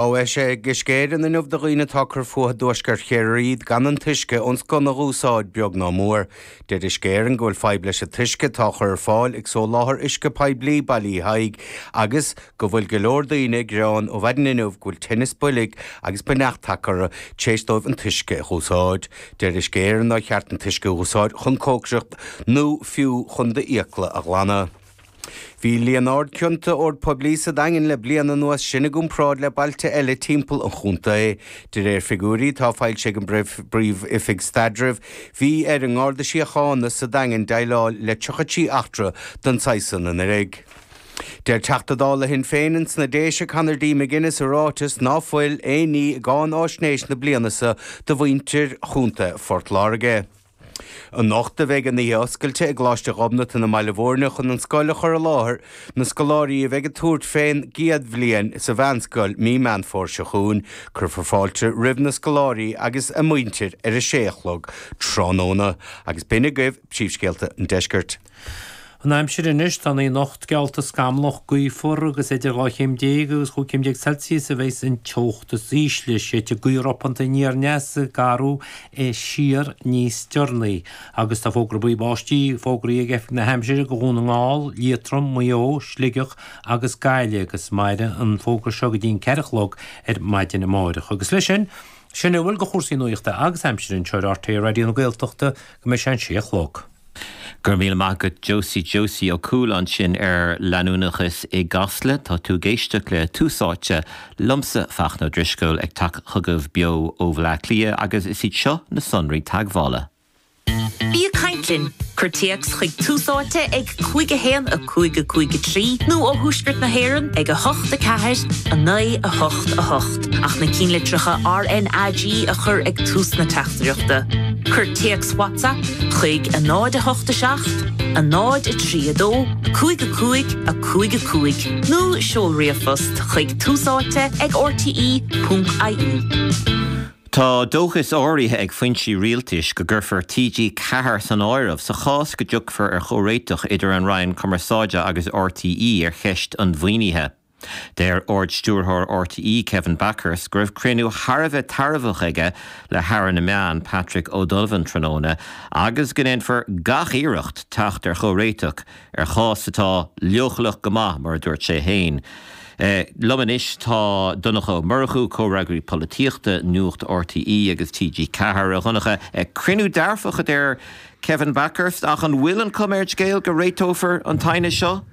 Eisithe ag Uisce Éireann inniu do dhaoine atá ag cur fúthu i dtuaisceart Chiarraí gan an t-uisce ón sconna a dh'úsáid, beag ná mór. Deir Uisce Éireann go bhfuil fadhb leis an t-uisce atá á chur ar fáil ag soláthar uisce poiblí Baile Uí Thaidhg agus go bhfuil go leor daoine ag gearán ó mhaidin inniu go bhfuil tinneas boilg agus buinneach tagtha orthu tar éis dóibh an t-uisce a dh'úsáid. Deir Uisce Éireann nár cheart an t-uisce a dh'úsáid chun cócaireacht nó fiú chun d'fhiacla a ghlanadh. Bhí líon ard cionta ord poiblí sa Daingean le bliain anuas, sin i gcomparáid le bailte eile timpeall an chontae. De réir figiúirí atá foilsithe ag an bPríomh-Oifig Staidrimh, bhí ar an nGarda Síochána sa Daingean déileáil le 33 eachtra den saghas san anuraidh. Deir Teachta Dála Shinn Féin ins na Déise Conor D. McGuinness i ráiteas ná fuil aon ní i gcáináisnéis na bliana seo do mhuintir Chontae Phort Láirge. Anocht a bheidh an oíche oscailte i gColáiste Ghobnatan i mBaile Bhúirne chun an scoil a chur i láthair na scoláirí a bheidh ag tabhairt fén gcéad bhliain sa mheánscoil mí Meán Fómhair seo chugainn. Cuirfear fáilte roimh na scoláirí agus a muintir ar a sé a chlog tráthnóna. Agus b'in agaibh príomhscéalta an deiscirt. An aimsir anois, tá an oíche anocht geallta scamallach, gaofar agus idir 12 chéim agus 15 chéim Celsius a bheas an teocht is ísle. Séidfidh gaoth ropánta aniar aneas ag athrú siar níos deireanaí. Agus tá fógra buí báistí fógraithe ag Oifig na hAimsire do Dhún na nGall, Liatroim, Maigh Eo, Sligeach agus Gaillimh agus mairfidh an fógra seo go dtí an 4 a chlog ar maidin amáireach. Agus leis sin, sin a bhfuil de chúrsaí nuachta agus aimsire anseo ar RTÉ Raidió na Gaeltachta go mbeidh sé an 6 a chlog. Go raibh míle maith agat Josie Josie Ó Cuail ansin ar leanúnachas i gCasla. Tá tú ag éisteacht le Tús Áite liomsa Fachtna Ó Drisceoil ag teacht chugaibh beo ó Bhaile Átha Cliath agus is iad seo na sonraí teagmhála. Bí ag caint linn! Cuir téacs chuig Tús Áite ag 5 1 5 5 3 nó ó Thuaisceart na hÉireann ag 8 4 9 8 8 ach na cinnlitreacha RnaG a chur ag tús na teachtaireachta. Cuir téacs WhatsApp chuig 0 8 7 0 3 2 5 5 5 5 nó seol ríomhphost chuig túsáite ag rte.ie. Tá dóchas áirithe ag foinsí rialtais go gcuirfear TG4 san áireamh sa chás go dtiocfar ar chomhréiteach idir an Roinn Cumarsáide agus RTÉ ar cheist an mhaoinithe. Deir Ard-Stiúrthóir RTÉ, Kevin Bakhurst, go raibh cruinniú thar a bheith tairbheach aige le hAire na Meán, Patrick O'Donovan tráthnóna agus go ndéanfar gach iarracht teacht ar chomhréiteach ar chás atá leochaileach go maith, mar a dúirt sé féin. Liom anois tá Donncha Ó Murchú, Comhfhreagraí Polaitíochta, Nuacht RTÉ agus TG4. A Dhonncha, cruinniú dearfach a deir Kevin Bakhurst, ach an bhfuil an chuma ar an scéal go réiteofar an t-aighneas seo?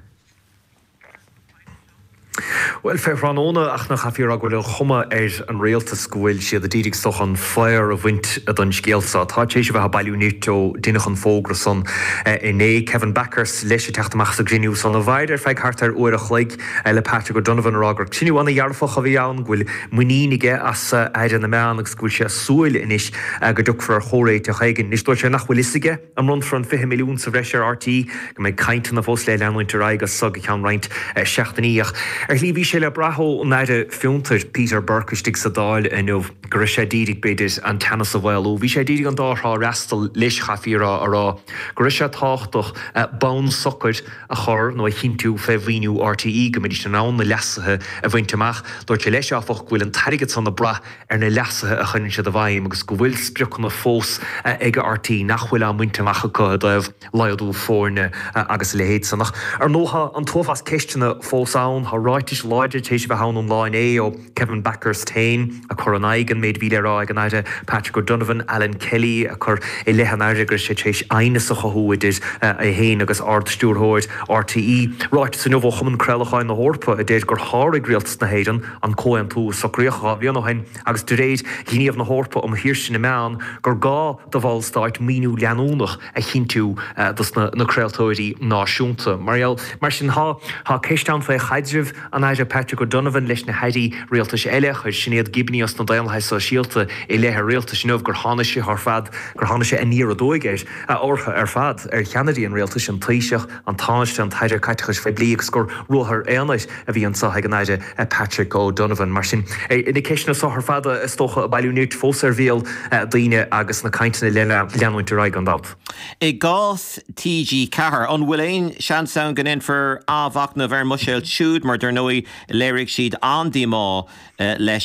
Bhuel, fé thráthnóna, ach nach chaithfí a rá go bhfuil an chuma ar an rialtas go bhfuil siad ag iarraidh is dócha an faobhar a bhaint den scéal seo. Tá tar éis a bheith ag bailiú nirt ó deineadh an fógra san inné. Kevin Bakhurst leis ag teacht amach as an gcruinniú san a mhair ar feadh thart ar uair a chloig le Patrick O'Donovan a rá gur cruinniú ana-dhearfach a bhí ann, go bhfuil muinín aige as Aire na Meán agus go bhfuil sé ag súil anois go dtiocfar ar chomhréiteach éigin. Anois dúirt sé nach bhfuil fhios aige. An mbronnfar an 20 milliún sa bhreis ar RTÉ? Go mbeidh cainteanna fós le leanúint ar aghaidh as seo go ceann roinnt seachtainí. Ach ar shlí bhí sé le brath ón Aire Fiontair, Peter Burke istigh sa Dáil inniu go raibh sé d'iarraidh, b'fhéidir, an teannas a mhaolú. Bhí sé d'iarraidh an dá thrá a fhreastal leis, chaithfí a rá, a rá go raibh sé tábhachtach bonn socair a chur nó a chinntiú fé mhaoiniú RTÉ, go mbeidís in ann na leasuithe a bhaint amach. Dúirt sé leis, áfach, go bhfuil an t-airgead san ag brath ar na leasuithe a chuireann siad i bhfeidhm agus go bhfuil spriocanna fós ag RTÉ nach bhfuil á mbaint amach acu i dtaobh laghdú foirne agus a leithéid san. Ach ar ndóigh tá an t-uafás ceisteanna fós ann. Tá ráitis láidre tar éis a bheith ann ón lá inné ó Kevin Bakhurst féin ag cur in aghaidh an méid a bhí le rá ag an Aire Patrick O'Donovan, Alan Kelly ag cur i leith an Aire go raibh sé tar éis aighneas a chothú idir é féin agus Ard-Stiúrthóir RTÉ. Ráiteas inniu ó Chumann Craolacháin na hEorpa a deir gur sháraigh Rialtas na hÉireann an comhaontú a socraíodh 2 bhliain ó shin agus de réir Ghníomh na hEorpa um Shaoirse na Meán gur gá do bhallstáit maoiniú leanúnach a chinntiú dos na craoltóirí náisiúnta. Mar gheall mar sin tá tá ceist ann faoi chaidreamh an Aire Patrick O'Donovan leis na hairí rialtais eile. Chuir Sinéad Gibney os na Daonlathaithe Sóisialta i leith an rialtais inniu gur tháinig sé ar fad gur tháinig sé aniar aduaidh air orthu ar fad, ar cheannairí an rialtais, an Taoiseach, an Tánaiste, an tAire Caiteachais Phoiblí agus gur ruathar aonair a bhí anseo ag an Aire Patrick O'Donovan. Mar sin, na ceisteanna seo ar fad is dócha ag bailiú nirt fós ar bhéal daoine agus na cainteanna le leanúint ar aghaidh gan dabht. I gcás TG4, an bhfuil aon seans ann go ndéanfar athmhachnamh ar an mbuiséad siúd mar dar ndóigh. Léirigh siad an-díomá leis.